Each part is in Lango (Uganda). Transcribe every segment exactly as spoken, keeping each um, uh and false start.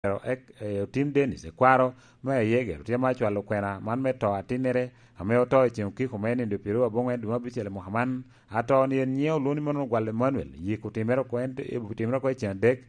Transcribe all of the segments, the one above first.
Ero ek-, eh, otim Dennis, ekwaro me Ayegero, tye ma acwalo kwena man me to atinnere, ame oto i ceng okiko me nindo pyeraryo aboŋwen dwe me abicel i mwaka man. Ato-ni en nyiŋe olwoŋo ni mano Ogwal Emmanuel, yik otimere oko en, otimere oko i ceng adek,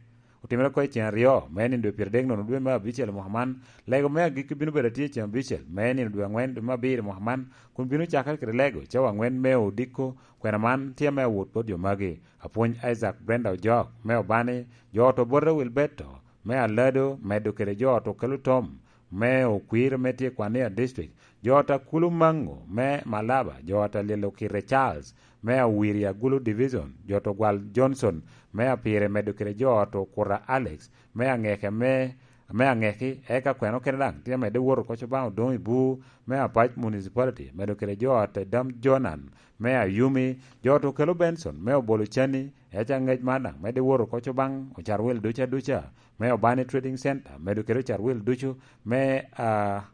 otimere oko i ceng aryo me nindo dwe pyeradek nono dwe me abicel i mwaka man. Lego me agikki bino bedo atye i ceng abicel me nindo dwe aŋwen dwe me abiro i mwaka man, kun bino cakere kede lego cawa aŋwen me odiko. Kwena man tye me awot bot jo magi: Apwony Isaac Brenda Ojok me Obani, jo ot Obote Wilberto me Alado, medo kede jo ot Okelo Tom me Okwir me tye i Kwania District, jo ot Akulu Mango me Malaba, jo ot Alilo Kite Charles me Awiri Agulu Division, jo ot Ogwal Johnson me Apire, medo kede jo ot Okuta Alex me Aŋeke me, me Aŋeki, eka kwena okene daŋ tye amedde wot oko Cobaŋ Odoŋo i Bur me Apac Municipality, medo kede jo ot Dam Jonan me Ayumi, jo ot Okelo Benson me Obolo Cani, eka aŋec man daŋ medde wot oko Cobaŋ Ocarwil duca duca me Obani Trading Center, medo kede Ocarwil ducu me, ah,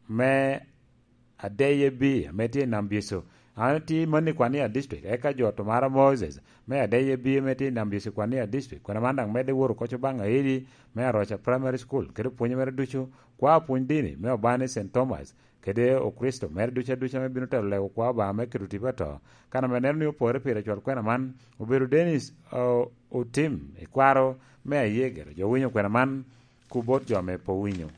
me Adeye B ame tye i Nam Bico. An atye i Mani Kwania District, eka jo ot Omara Moses me Adeye B ame tye i Nam Bico Kwania District. Kwena man daŋ medde wot oko Cobaŋ Aidi me Aroca Primary School, kede pwonye mere ducu, kwa pwony dini me Obani Saint Thomas, kede Okricito mere duca duca ame bino telo lego kwa Obaŋa me keto tipo ato. Kan ame neno ni opore pire cwal kwena man, obedo Dennis, o-, Otim, ekwaro me Ayegero. Jo winyo kwena man, ku bot jo ame pe owinyo.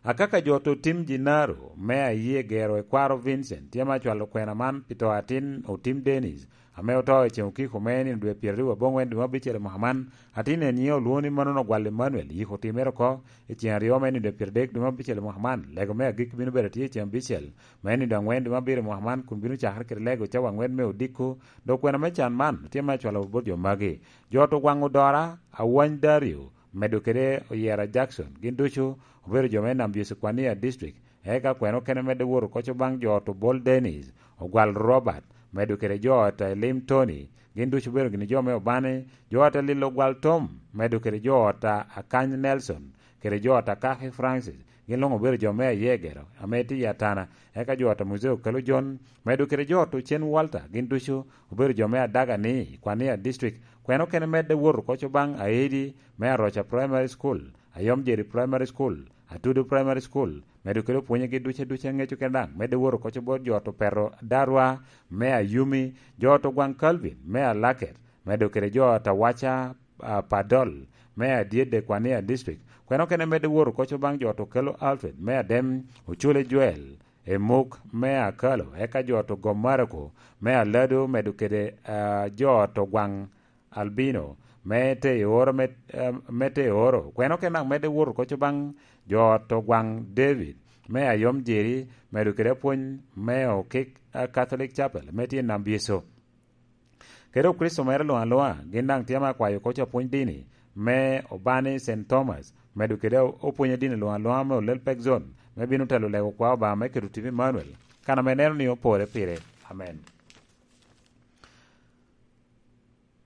Akaka jo ot Otim Jinaro me Ayegero, ekwaro Vincent, tye ma acwalo kwena man pi to atin Otim Dennis, ame oto i ceng okiko me nino dwe pyeradek aboŋwen dwe me abicel i mwaka man. Atin en nyiŋe olwoŋo ni manono Ogwal Emmanuel, yik otimere oko i ceng aryo me nino dwe pyeradek dwe me abicel i mwaka man. Lego me agikki bino bedo atye i ceng abicel me nino dwe aŋwen dwe me abiro i mwaka man, kun bino cakere kede lego cawa aŋwen me odiko. Dok kwena me can man tye me acwalo bot jo magi: Jo ot Ogwaŋ Odora, Awany Dario, medo kede Oyera Jackson, gin ducu obedo jo me Nam Bici Kwania District. Eka kwena okene medde wot oko Cobaŋ jo ot Obol Dennis, Ogwal Robert, medo kede jo ot Elim Tony, gin ducu obedo gini jo me Obani, jo ot Alilo Ogwal Tom, medo kede jo ot Akany Nelson, kede jo ot Akaki Francis, gin luŋ obedo jo me Ayegero ame tye i Atana. Eka jo ot Muzee Okelo John, medo kede jo ot Ocen Walter, gin ducu obedo jo me Adaga-ni i Kwania District. Kwena okene medde wot oko Cobaŋ Aidi me Aroca Primary School, Ayom Jeri Primary School, Atudo Primary School, medo kede opwonyegi duca duca ŋeco kene daŋ medde wot oko Cobaŋ bot jo ot Opeto Darwa me Ayumi, jo ot Ogwaŋ Calvin me Alaket, medo kede jo ot Awaca, ah, Padol me Adyedde Kwania District. Kwena okene medde wot oko Cobaŋ jo ot Okelo Alfred me Adem, Ocule Joel, Emuk me Akalo, eka jo ot Ogom Marako me Alado, medo kede, ah, jo ot Ogwaŋ Albino me te i oro me, eh, me te i oro. Kwena okene daŋ medde wot oko Cobaŋ jo ot Ogwaŋ David me Ayom Jeri, medo kede apwony me Okik, eh, Catholic Chapel me tye i Nam Bieco. Kede Okricito mere luŋ aluŋa, gin daŋ tye ame akwayo oko apwony dini me Obani Saint Thomas, medo kede opwony a dini luŋ aluŋa me Olel Pek Zone, me bino telo lego kwa Obaŋa me keto tipo Emmanuel, kan ame neno ni opore pire. Amen.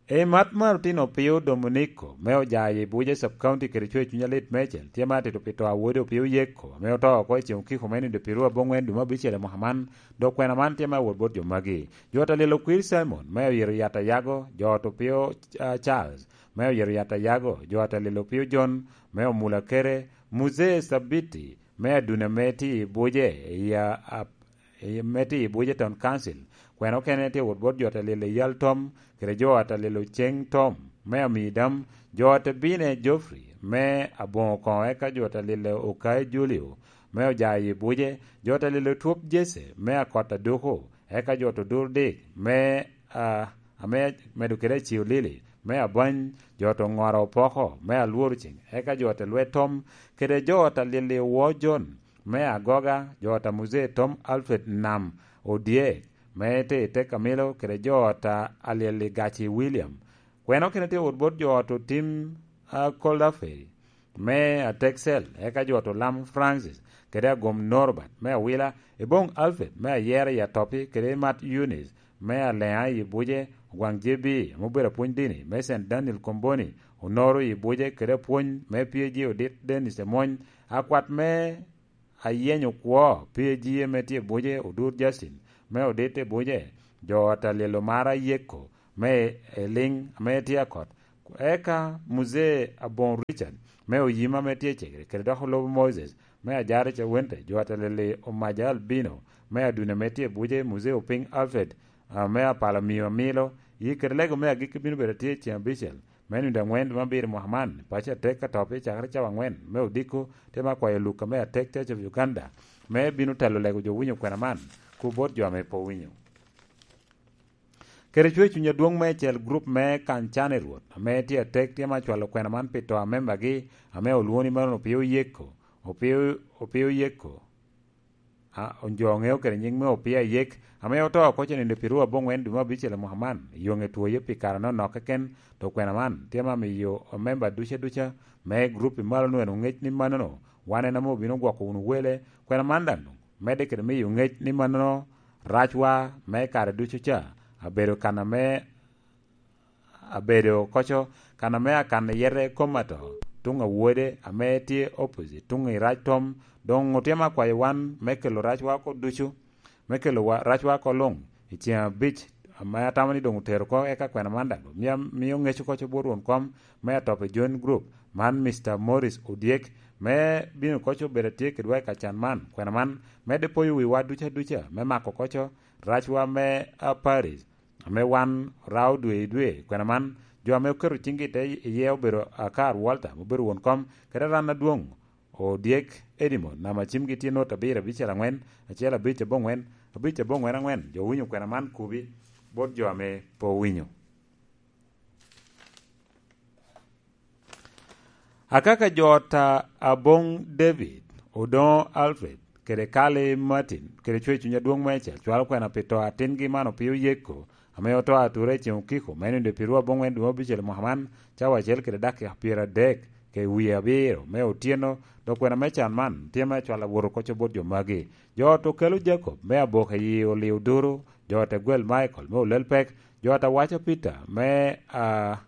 I mat mar otino Pio Dominico, me Ojayi Buje Sub County kede coc cuny alit mecel, tye ma atito pi to a wode Opio Yeko, ame oto oko i ceng okiko me nindo pyeru aboŋwen dwe me abicel i mwaka man, dok kwena man tye me awot bot jo magi: Jo ot Alilo Kwir Simon, me Oyero Yat Ayago, jo ot Opio, ah, Charles, me Oyero Yat Ayago, jo ot Alilo Opio John, me Omula Kere, Muzee Sabiti, me Aduna me tye i Buje, i, ah, ap-, i, me tye i Buje Town Council. Kwena okene tye wot bot jo ot Alilo Yal Tom, kede jo ot Alilo Ceng Tom, me Amidam, jo ot Bine Geoffrey, me Aboŋo Koŋo, eka jo ot Alilo Okayi Julio, me Ojayi Buje, jo ot Alilo Twop Jesse, me Akot Aduku, eka jo ot Odur Dik, me, ah, ame medo kede Acio Lili, me Abany, jo ot Oŋora Opoko, me Alworo Ceng, eka jo ot Lwet Tom, kede jo ot Alili Wo John, me Agoga, jo ot a Muzee Tom Alfred Nam Odyek, me te i Tek Amilo, kede jo ot a Alili Gaci William. Kwena okene tye wot bot jo ot Otim, ah, Koldafe, me Ateksel, eka jo ot Olam Francis, kede Agom Norbert, me Awila, Eboŋ Alfred, me Ayera i Atopi, kede Mat Eunice, me Aleŋa i Buje, Ogwaŋ J B, ame obedo apwony dini, me Saint Daniel Komboni, Onoro i Buje, kede apwony me P A G Odit Dennis Emony, akwat me Ayenyo Kwo, P A G ame tye i Buje, Odur Justin, me Odit i Buje, jo ot Alilo Mara Yeko, me Eliŋ, ame tye Akot, Eka Muzee Aboŋ Richard me Oyima me tye i Cegere, kede dok Olobo Moses me Ajare Cawente, jo ateleli Omaja Albino me Adune me tye i Buje, Muzee Opiny Alfred, ah, me Apala Miyo Amilo, yi kede lego me agikki bino bedo atye i ceŋ abicel me nino aŋwen dwe me abiro mwaka man, paco atek ka topi cakere cawa aŋwen me odiko, te me akwayo Luka me atek Church of Uganda, me bino telo lego jo winyo kwena man, ku bot jo ame pe owinyo. Kede cwer cuny adwoŋ meicel, gurup me Kany Can i Rwot, ame tye atek, tye me acwalo kwena man pi to a membagi, ame olwoŋo ni mano Opio Yeko, Opio, Opio Yeko, a, jo ŋeo kede nyiŋ me Opio Ayek, ame oto oko cenindo pi ruu aboŋwen dwe me abicel i mwaka man, yoŋe twoye pi kare anonok keken, to kwena man tye me amiyo memba duca duca me gurup i malo nwen oŋec ni manono, wan en ame obino gwoko wunu wele, kwena man daŋ medde kede miyo ŋec ni manono racwa me kare ducu ca abedo kan ame abedo koco, kan ame akan iyete kom ato, tuŋ awode ame tye opposite, tuŋ i rac tom, doŋ otye me akwayo wan me kelo racwa oko ducu, me kelo wa, racwa oko luŋ i ceŋ abic, ame atamo ni doŋ otero oko, eka kwena man daŋ mia-, mio ŋec oko bot won kom me Atope Joint Group, man Mister Morris Odyek, me bino koco bedo atye kedwa i kacan man. Kwena man medde poyo wiwa duca duca me mako koco racwa me, a, Paris, ame wan rao dwe i dwe. Kwena man, jo ame oketo ciŋgi i te iye obedo Akar Walter, obedo won kom, kede ran adwoŋ, Odyek Edimon, namba cimgi tye not abiro abicel aŋwen, acel abic aboŋwen, abic aboŋwen aŋwen. Jo owinyo kwena man kubi bot jo ame pe owinyo. Akaka jo ta Aboŋ David, Odoŋo Alfred, kede Kali Martin, kede cwer cuny adwoŋ meicel, cwalo kwena pi to atingi man Opio Yeko, ame oto atura i ceŋ okiko, me nino pi ruu aboŋwen dwe me abicel mwaka man, cawa acel kede dakika pyeradek, ke wie abiro me otyeno, dok kwena me can man tye me acwal awot okoco bot jo magi. Jo ot okelo Jacob me aboka i Olio Duru, jo ot Egwel Michael me Olel Pek, jo ot Awaca Peter me, ah,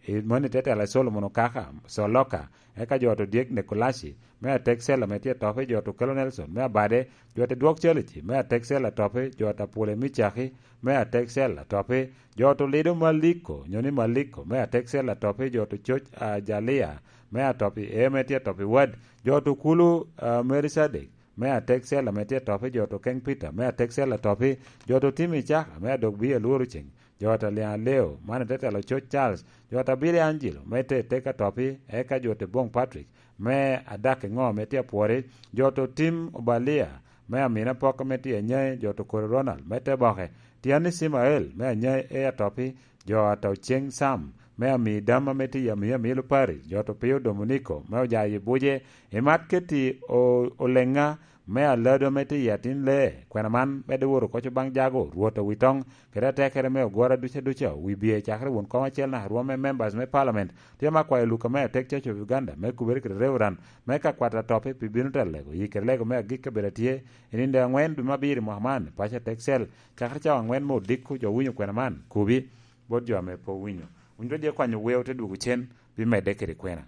i moni tetela Solomon Okaka, Soloka, eka jo ot Odyek Nekolaci me atek Cella me tye Atope, jo ot Okelo Nelson me Abade, jo ot Dwok Calici me atek Cella Atope, jo ot Apule Micaki me atek Cella Atope, jo ot Olido Maliko, nyo ni Maliko, me atek Cella Atope, jo ot Coc Ajalia me Atope, e, me tye Atope Wad, jo ot Okulu, ah, Merisadek, me atek Cella me tye Atope, jo ot Okeng Peter, me atek Cella Atope, jo ot Otimo Icaka, me adok bia lworo ceng, jo ot Aliaŋ Aleo, man ite telo Coc Charles, jo ot Abili Angelo, me te tek Atope, eka jo ot Boŋ Patrick, me adak i ŋo, me tye Apwori, jo ot Otim Obalia, me Amina Poko, me tye Anyai, jo ot Okori Ronald, me te Boke, Tiani Cimael, me Anyai, e Atope, jo ot Oceŋ Sam, me Ami Dam, ame tye i Ami Amilo Parish, jo ot Opio Dominiko, me Ojayi Buje, i Mat Keti O-, Oleŋa, me Alado, ame tye i Atin Lee, kwena man medde woro koco baŋ Jago, Rwot Owitoŋ, kede atekere me ogwora duca duca, wi bie cakere won kom acel naka rwom me members me parliament, tye me akwayo Luka me atek Church of Uganda, me kubere kede Reverend, me ka kwat Atope pi bino telo lego, yi kede lego me agikki obedo atye, i nino aŋwen dwe me abiro i mwaka man, paco atek cel, cakere cawa aŋwen me odiko jo winyo kwena man, kubi, bot jo ame pe owinyo. Wun jo dye kwanyo weo te dwogo cen, pi medde kede kwena.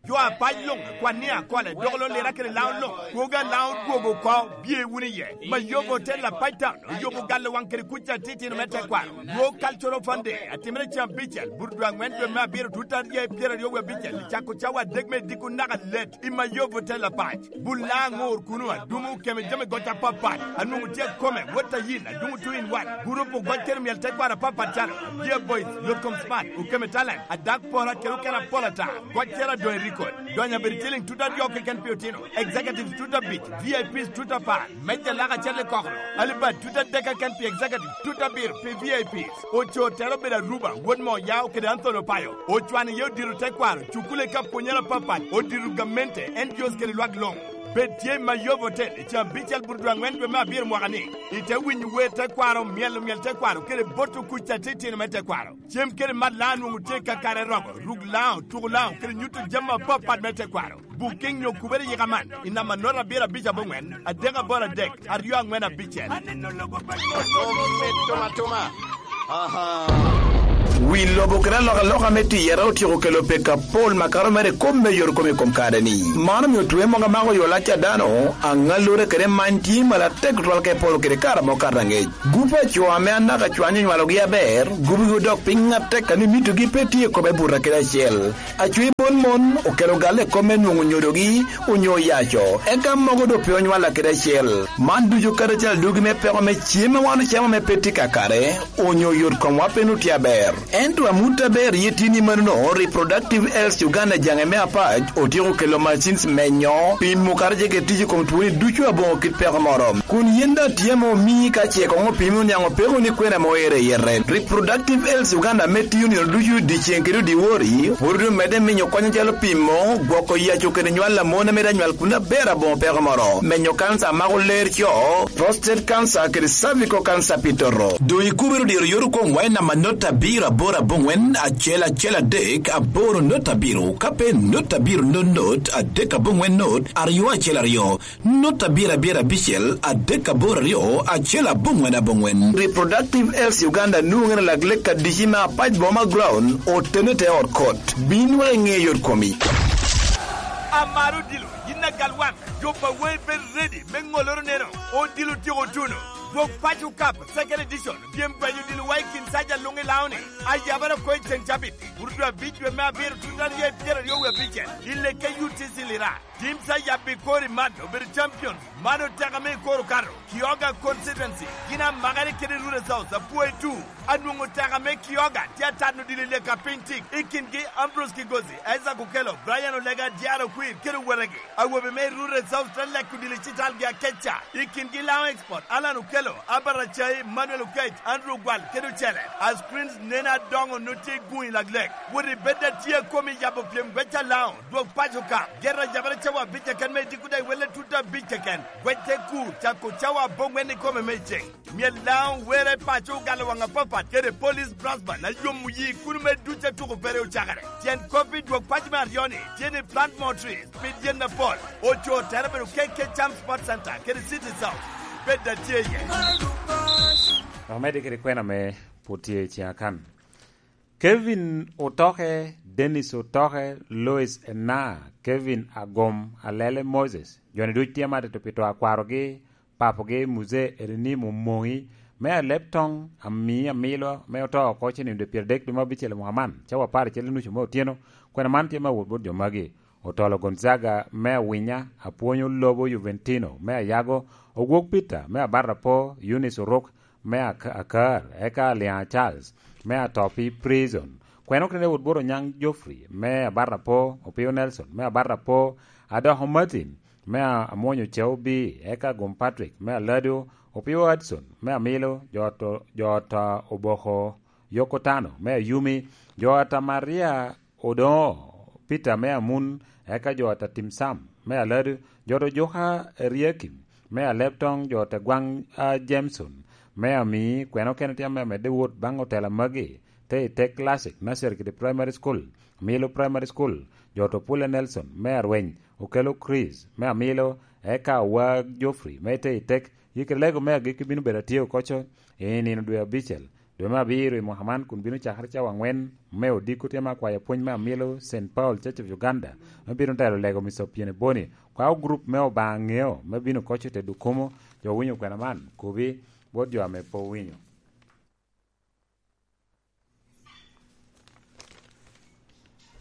Jo apac luŋ, kwan ni akole, dok lo lira kede laŋo luŋ, kwogo alaŋo dwogo oko, bye wunu iye. Mayobo Hotel Apac Town, oyobo galo waŋ kede kuc atitino me tekwaro. World Cultural Fund Day, atimere cen abicel, but dwe aŋwen dwe me abiro, tut aryo pyeraryo wie abicel, cako cawa adek me diko naka let. I Mayobo Hotel Apac, bul laŋo ŋor kuno, adumo okeme jami goc apapat, anwoŋo tye akome, wot ayin, adumo two in one, gurup ogoc kede myel tekwaro apapat calo, Dear Boys, Yot Kom Smart, okeme Talent, Adak Pora kede okene apol ata, goccere adoŋ i record. Donyo abedo ciliŋ tut aryo keken pi otino, executives tut abic, V I Ps tut apar, meja lak acel i kokoro, alibad tut adek keken pi executives, tut abiro pi V I Ps. Oco tere obedo Aruba, wod Moyao kede Anthony Opayo. Ocwano iye odito tekwaro, cukule ka pwonyere apapat, odito gamente, N G Os kede lwak luŋ. Bed tye i Mayob Hotel i caa abicel but dwe aŋwen dwe me abiro mwaka ni. Ite winyo wer tekwaro, myelo myel tekwaro, kede boto kuc atitino me tekwaro. Cem kede mat laŋo nwoŋo tye kakare romo, ruk laŋo, tuko laŋo, kede nyuto jami apapat me tekwaro. Booking nyo kubere yika man i namba note abiro abic aboŋwen, adek aboro adek, aryo aŋwen abicel. Aneno lobo pa Nyasaye. Atuma, atuma. Aha. Wi lobo kede alokaloka me tiyere otyeko kelo peko apol makato mere i kop me yot kome i kom kare-ni. Man omio twe mogo amako yo lac a dano, aŋallure kede many tye malo atek tutwal ka iporo kede kare amo kato aŋec. Gup a co ame anaka cwany onywalogi aber, gubigi odok piny atek a ni mitogi pe tye i kome buto kede acel. Acwi mon mon okelo galle i kop me nwoŋo nyodogi onyo yaco, eka mogo doŋ pe onywalla kede acel. Man ducu kadi acel adugi me peko me cem a wan ocamo ame pe tye kakare, onyo yot komwa pe nut tye aber. Ento amut aber ye tye ni manono, Reproductive Health Uganda jaŋe me apac otyeko kelo machines menyo, pimo kara jege tic i kom twoni ducu aboŋo kit peko moro. Kun yen daŋ tye ame omii ka ce koŋ opimi oniaŋ opeko ni kwena ame oero i yete. Reproductive Health Uganda ame tiyo nino ducu dyeceŋ kede dyewor, pwod omedde minyo kony acalo pimo, gwoko yaco kede nywal a mon ame daŋ nywal kun aber aboŋo peko moro, menyo kansa a mako ler co, prostate cancer kede cervical cancer pi toto. Doŋ ikubere odiro yot okomwa i namba note abiro aboro aboŋwen acel acel adek aboro note abiro, ka pe note abiro not not adek aboŋwen not aryo acel aryo. Not abiro abiro abicel adek aboro aryo acel aboŋwen aboŋwen. Reproductive Health Uganda nwoŋere lak lek adici me apac boma ground otene te ot kot. Bin wek iŋe yot komi. Amaro odilo, yin agal wan, jo pa wai bed ready me ŋoloro neno, odilo tyeko tuno. Dwok paco kap, second edition, pyem paco odilo wai kin saja luŋ i laoni. Ayabara ko i ceŋ cabit, burdo abic dwe me abiro tuta rye pyero aryo wie abicel, i leke U T C Lira. Tim sa yabbi kori man obedo champions. Man oteka me i koro kato. Kioga constituency. Gin amakere kede Rural South, Apuoy two. Anwoŋo teka me Kioga tye atano dili leka piny tik. I kingi Ambrose Kigozi, Isaac Okello, Brian Olega, Diaro Kwir, kede owetegi. Awobe me Rural South te leko dili citalgi akeca. I kingi Laŋo Export, Alan Okello, Albert Acai, Manuel Okech, Andrew Gwal, kede ocele. A screens nene adoŋo no tye guŋ i laglek. Wot i bed atye komi yabo pyem gweca Laŋo. Dwog paco ka. Gera yabere cawa abic keken me idiko dai welle tuta abic keken. Gwec te ku, cako cawa aboŋwen i kome me iceŋ. Myel Laŋo were paco ogalo waŋ apapat kede Police Brass Band a yomo yi kun me duc atuko pere ocakere. Tyen kop i dwog paco me aryo-ni, tye ni plant more trees, pid yen apol. Oco tere bedo K K Cham Sports Center kede City South. Bed atye iye. Omedde kede kwena me pwod tye i ciŋa kan. Kevin Otoke, Dennis Otoke, Lois Ena, Kevin Agom, Alele Moses, jo-ni duc tye matito pi to a kwarogi, papogi, Muse Erinimo Moŋi, me Aleb Toŋ, Ami Amilo, me oto oko cen i nino dwe pyeradek dwe me abicel i mwaka man, cawa apar acel i nucu me otyeno. Kwena man tye me awot bot jo magi: Otolo Gonzaga, me Awinya, Apwonyo Lobo Juventino, me Ayago, Ogwok Peter, me Abarrapo, Eunice Orok, me Ak-, Akar, eka Aliaŋ Charles, me Atopi Prison. Kwena okene wot bot Onyaŋ Geoffrey, me Abarrapo, Opio Nelson, me Abarrapo, Adoko Martin, me A-, Amwonyo Ceo B, eka Gum Patrick, me Alado, Opio Hudson, me Amilo, jo to, jo ta Oboko, Yoko Tano, me Ayumi, jo ata Maria Odoŋo, Peter me Amun, eka jo ata Tim Sam, me Alado, jo ta Ojuka Eriakim, me Aleb Toŋ, jo ta Gwaŋ a Jameson, me Ami, kwena okene tye ame amedde wot baŋ otela magi, te i tek Classic, Nursery kede Primary School, Amilo Primary School, jo ta Opule Nelson, me Arweny, Okelo Chris, me Amilo, eka Awag Geoffrey, me te i tek, yikere lego me agikki bino bedo atye okoco i nino dwe abicel, dwe me abiro i mwaka man, kun bino cakere cawa aŋwen me odiko. Tye me akwayo pwony me Amilo Saint Paul Church of Uganda, me bino telo lego Mister Opiene Boni, kwao gurup me Obaŋa Ŋeo, me bino koco i te Dukumo. Jo winyo kwena man, kobi bot jo ame pe owinyo.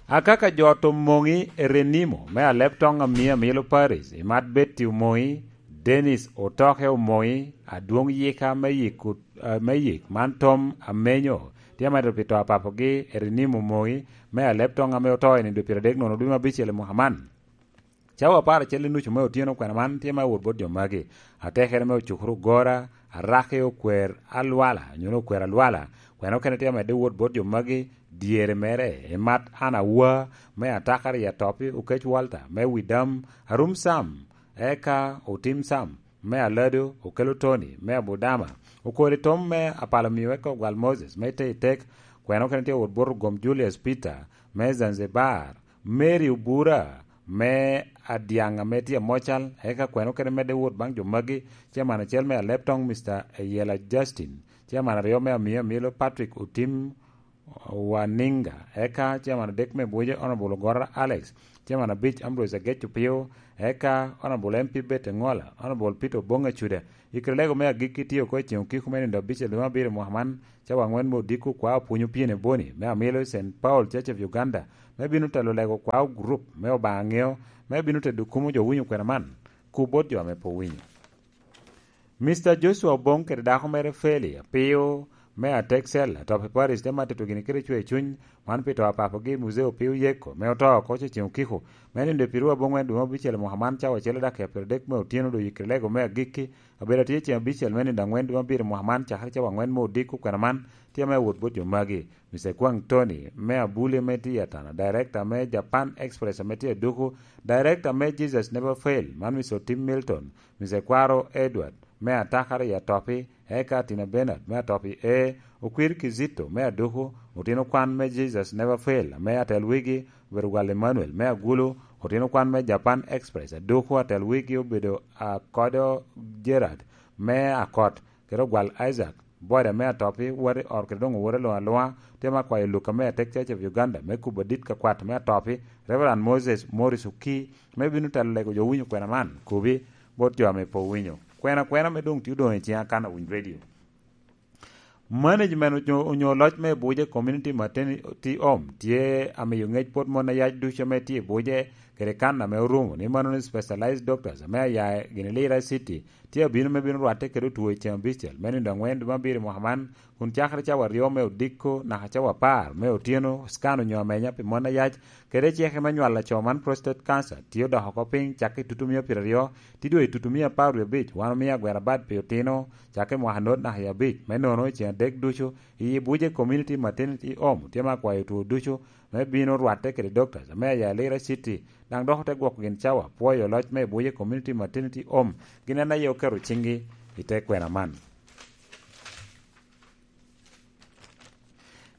Akaka jo to Moŋi Erenimo, me Aleb Toŋ Ami Amilo Paris, i Mat Betty Omoŋi, Dennis Otoke Omoŋi, adwoŋ yika me yik, eh, me yik man Tom Amenyo, tye amedde pi to a papogi Erenimo Omoŋi, me Aleb Toŋ ame oto i nino dwe pyeradek nono dwe me abicel i mwaka man. Cawa apar acel i nucu me otyeno kwena man tye me awot bot jo magi. Atekere me ocukere ogora, araki okwer alwala, nyono okwer alwala. Kwena okene tye amedde wot bot jo magi, dyere mere, i Mat An Awa, me Atakar i Atopi, Okec Walter, me Widam, Arum Sam, eka Otim Sam, me Alado, Okelo Tony, me Abudama, Okori Tom, me Apalo Miyo, eka Ogwal Moses, me Te i Tek. Kwena okene tye wot bot Ogom Julius Peter, me Zanzibar, Mary Obura, me Adiaŋ ame tye Amocal, eka kwena okene medde wot baŋ jo magi, Chairman acel me Aleb Toŋ, Mister Eyela Justin, Chairman aryo me Amiyo Amilo, Patrick Otim, Waninga, eka chairman adek me Buje, Honorable Ogora Alex, chairman abic, Ambrose Agec Opio, eka Honorable M P Bete Ngola, Honorable Peter Obonga Chuda. I kare lego me agikki tye oko i ceng okiko me nino abicel dwe me abiro mwaka man, cawa angwen me odiko kwa opwonyo pyene boni me amilo i Saint Paul Church of Uganda, me bino telo lego kwa gurup me Obaŋa ŋeo, me bino tedo kumo jo winyo kwena man, ku bot jo ame pe owinyo. Mister Joshua Obong kede dako mere Feli Apio me Atexel, atop i Paris, te matito gini kede cwer cuny, man pi to a papagi Muzee Opio Yeko, me oto oko ceŋ okiko, me nino pi rua boŋwen dwe me abicel mwaka man, cawa acel daki apiro dek me otyeno, doŋ yikre lego me agikki, abedo atye ceŋ abicel me nino angwen dwe me abiro mwaka man, cakere cawa angwen me odiko kwena man, tye ame awot bot jo magi. Mister Kwang Tony, me Abuli, me tye i Atana, Director me Japan Express, ame tye i Duku, Director me Jesus Never Fail, man Mister Tim Milton, Mister Kwaro Edward, me Atakara i Atopi, eka Tina Bernard, me Atopi E, Okwir Kizito, me Aduku, otino kwan me Jesus Never Fail, ame atel wigi obedo Gwal Emmanuel, me Agulu, otino kwan me Japan Express, Aduku, atel wigi obedo Akodo Gerard, me Akot, kede Ogwal Isaac, Boda me Atopi, wot i ot kede doŋ owoto alwoŋ alwoŋa, tye me akwayo Luka me Atek Church of Uganda, me kubo adit ka kwat me Atopi, Reverend Moses Morris Oki, me bino telo lego jo winyo kwena man, kubi, bot jo ame pe owinyo. Kwena kwena me doŋ tye odoŋ i ciŋa kan awiny redio. Management onyo, onyo loc me Buje Community Maternity Home tye amiyo ŋec bot mon ayac ducu ame tye i Buje, kede kan ame orumo, ni mano ni specialized doctors ame aya gini Lira City, tye abino me bino rwatte kede otwo i ceŋ abicel, me nino angwen dwe me abiro i mwaka man, kun cakere cawa aryo me odiko naka cawa apar me otyeno, scan onyo amenya pi mon ayac, kede ceke me nywalo aco man, prostate cancer, tye odoko oko piny, cakke i tutumia pyeraryo, tye doŋ i tutumia apar wie abic, wan omio agwera bad pi otino, cakke i mwaka not naka i abic, me nono i ceŋ adek ducu, i Buje Community Maternity Home, tye me akwayo otwo ducu, me bino rwatte kede doctors, ame aya Lira City, daŋ dok ote gwoko gin cawa, pwoyo loc me Buje Community Maternity Home, gin en aye oketo ciŋgi i te kwena man.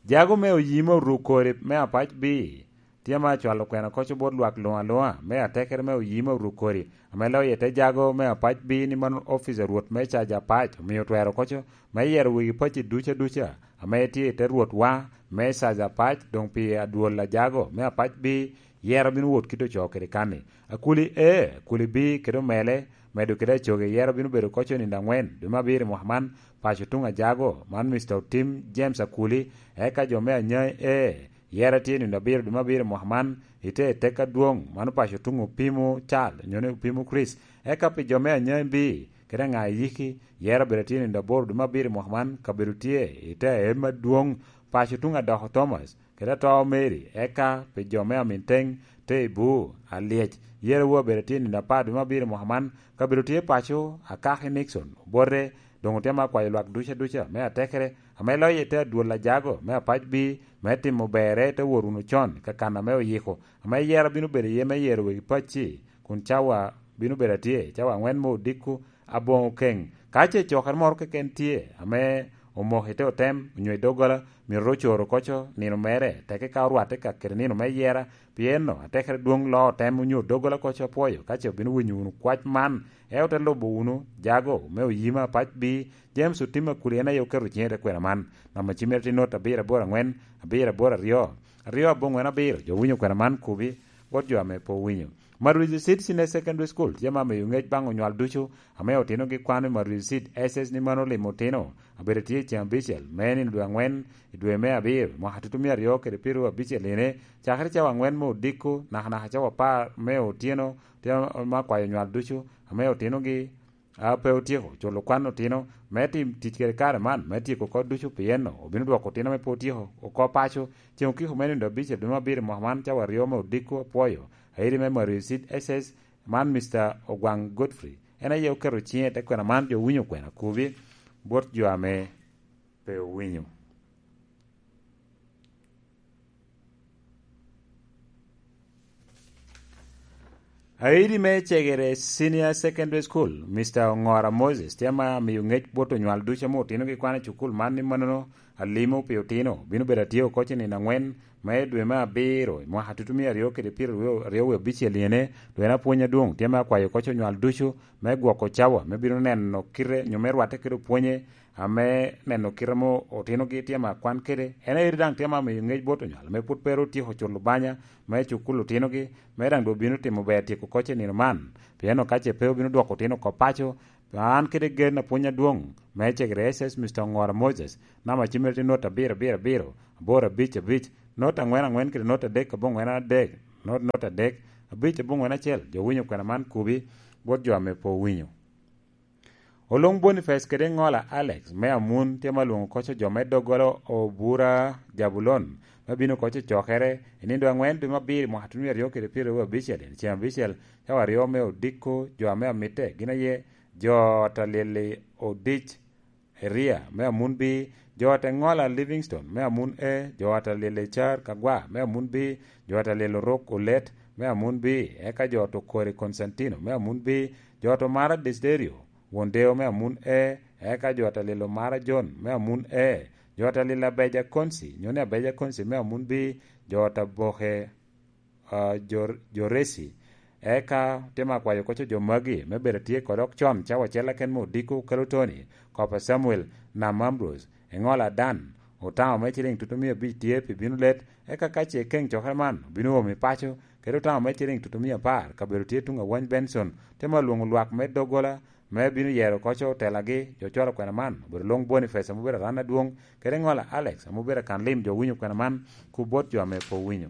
Jago me oyim oruk kori me apac bi, tye ma acwalo kwena koco bot lwak luŋ aluŋa, me atekere me oyim oruk kori, ame loyo i te jago me apac bi ni mano ofic a Rwot me caja apac, omio twero koco, me yero wegi pacci duca duca, ame tye i te Rwotwa, me caja apac, doŋ pi adwol a jago me apac bi, yero bino wot kit ocoo kede kan-ni. Akuli A, Akuli B kede omele, medo kede acoge, yero bino bedo koco nino angwen, dwe me abiro i mwaka man, paco tuŋ ajago, man Mister Otim James Akuli, eka jo me Anyai A, yero tye nino abiro dwe me abiro i mwaka man, ite tek adwoŋ, mano paco tuŋ Opimo Cal, onyo ni Opimo Chris, eka pi jo me Anyai B, kede aŋa i yiki, yero bedo tye nino aboro dwe me abiro i mwaka man, kabedo tye ite aem adwoŋ, paco tuŋ Adoko Thomas, kede ato Mary, eka pi jo me Aminteng, te i Bur, Alyec, yero wu abedo tye nino apar dwe me abiro i mwaka man, kabedo tye paco, Akaki Nixon, Obote, doŋ otemo akwayo lwak duca duca me atekere, ame loyo i te adwol ajago me apac bi, me timo berre, te wot wunu con ka kan ame oyiko, ame yero bino bedo iye me yero wegi pacci, kun cawa bino bedo atye, cawa angwen me odiko, aboŋo keŋ. Ka ce cokere moro keken tye, ame omoko i te otem, onyo i doggola, myero ocoro koco nino mere, teke ka orwatte ka kede nino me yera, pien no atekere dwoŋ loo otem onyo doggola koco apwoyo, ka ce obino winyo wunu kwac man, e ote lubo wunu jago me oyima apac bi, James Otim Akuli en aye oketo ciŋe i te kwena man. Namba cimere tye not abiro aboro angwen, abiro aboro aryo, aryo aboŋwen abiro, jo winyo kwena man kubi, bot jo ame pe owinyo. Marwezi Seed Senior Secondary School tye ma miyo ŋec baŋ onywal ducu ame otinogi kwano i Marwezi Seed S S ni mano limo otino, abedo tye i ceŋ abicel me nino dwe angwen i dwe me abiro, mwaka tutumia aryo kede pyeraryo abicel ine, cakere cawa angwen me odiko, nakanaka cawa apar me otyeno, tye ma kwayo onywal ducu ame otinogi a pe otyeko culo kwan otino me tim tic kede kare man me tyeko oko ducu, pien obino dwoko otino ame pe otyeko oko paco. Ceŋ okiko me nino abicel dwe me abiro i mwaka man, cawa aryo me odiko apwoyo, airi me Mario Seed S S, man Mister Ogwang Godfrey, en aye oketo ciŋe i te kwena man, jo winyo kwena kubi bot jo ame pe owinyo. Aidi me Cegere Senior Secondary School, Mister Ongora Moses, tye ma miyo ŋec bot onywal ducu ame otinogi kwan i cukul man ni manono alimo pi otino bino bedo atye oko ci nino angwen me dwe me abiro i mwaka tutumia aryo kede pyeraryo aryo wie abicel iyene, dwe na pwony adwoŋ tye me akwayo koc onywal ducu me gwoko cawa me bino neno kite nyo me rwatte kede opwonye ame neno kite mo otinogi tye me akwan kede en aye daŋ tye me amiyo ŋec bot onywal me pwod pe ru tyeko culo banya me cukul otinogi me daŋ dwe bino timo ber tyeko koc i nino man. Pien okace pe obino dwoko otino oko paco. An kede gen apwony adwoŋ me cegere S S Mister Ongora Moses, namba cimere tye not abiro abiro abiro aboro abic abic, not angwen angwen kede not adek aboŋwen adek, not not adek abic aboŋwen acel. Jo winyo kwena man kubi bot jo ame pe owinyo. Olung Boniface kede Ŋola Alex me Amun tye ma lwoŋo koco jo me doggola Obura Jabulon me bino koco cokere i nindo angwen dwe me abiro mwaka twenty aryo kede pyeraryo abicel, i ceng abicel cawa aryo me odiko. Jo ame amitte gin aye jo Talili Odic Eria me Amun B, jo Teŋola Livingstone me Amun A, jo Talili Car Kagwa me Amun B, jo Talili Oruk Olet me Amun B, eka jo Tokori Constantino me Amun B, jo Tomara Desiderio Wondeo me Amun A, eka jo Talili Omara John me Amun A, jo Talili Abeja Konsi nyo ni Abeja Konsi me Amun B, jo Taboke ah, Jor- Joresi. Eka te me akwayo koco jo magi me bedo atye kodok con cawa ocel aken me odiko kelo Tony, Kopa Samuel, Nam Ambrose, Eŋola Dan, otamo me ciliŋ tutumia abic tye pi bino let, eka ka ce keŋ cokere man obino omo i paco, kede otamo me ciliŋ tutumia apar kabedo tye tuŋ awany Benson, te me olwoŋo lwak me doggola me bino yero koco otelagi jo cwalo kwena man obedo Long Boniface ame obedo aran adwoŋ, kede Eŋola Alex ame obedo akan lim jo winyo kwena man ku bot jo ame pe owinyo.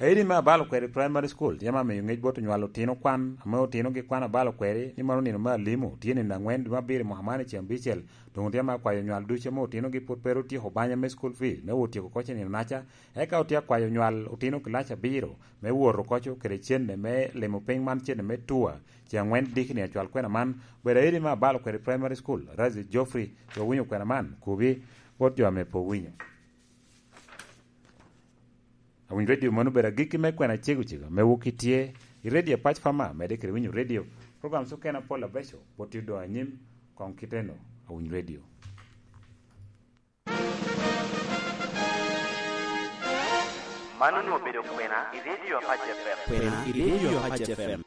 Aidi me Abalo Kweri Primary School tye ma miyo ŋec bot onywalo otino kwan, ame otinogi kwan abalo kweri, ni mano nino me alimo, tye nino angwen dwe me abiro mwaka man i ceng abicel, doŋ tye ma akwayo onywal ducu ame otinogi pwod pe ru tyeko banya me school fee, me wot tyeko koc i nino naca, eka otye akwayo onywal otino kilac abiro, me wot okoco kede cene me limo piny man cene me tua, ceng angwen dikini acwal kwena man, bedo aidi me Abalo Kweri Primary School, Razi Geoffrey, jo winyo kwena man, kubi, bot jo ame pe owinyo. Awiny Radio mano obedo agikki me kwena cego cego me wok itye i Radio Pac Fama, mede kede winyo radio. Program sukena pol abeco, bot tye doŋ anyim, koŋ kiteno, Awiny Radio. Mano onwoŋo obedo kwena i Radio Apac F M. Kwena i Radio Apac F M.